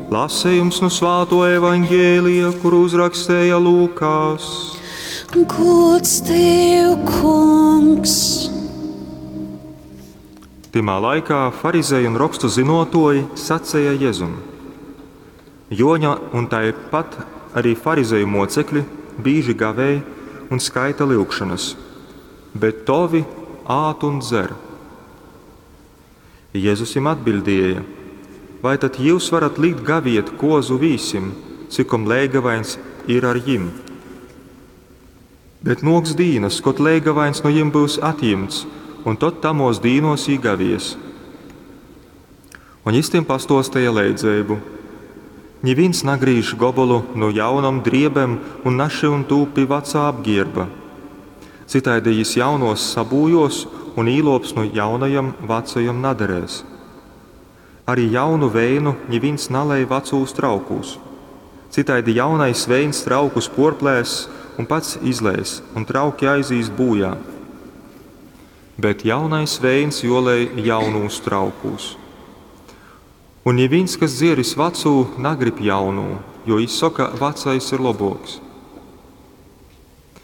Lasejums nu Svātuo Evaņgelija, kuru uzrakstēja Lūkas. Gods tev, Kungs! Tymā laikā farizeji un rokstu zynuotuoji saceja Jezum: Juoņa un taipat arī farizeju muocekļi bīži gavēj un skaita lyugšonys, bet tovi ād un dzer. Jezus jim atbiļdēja: Vai tad jius varat likt gaviet kuozu vīsim, cikom leigavaiņs ir ar jim? Bet nuoks dīnys, kod leigavaiņs nu jim byus atjimts, un tod tamuos dīnuos jī gavies. Un jis tim pastuosteja leidzeibu: Nivīns nagrīž gobolu nu jaunom driebem un našyun tū pi vacā apgierba. Cytaidi jis jaunuos sabūjuos, un īluops nu jaunajom vacajom naderēs. Arī jaunu veinu nivīns nalej vacūs traukūs. Cytaidi jaunais veins traukus puorplēss un pats izleis, un trauki aizīs būjā. Bet jaunais veins juolej jaunūs traukūs. Un nivīns, kas dzieris vacū, nagrib jaunū, jo jis soka, vacais ir lobuoks.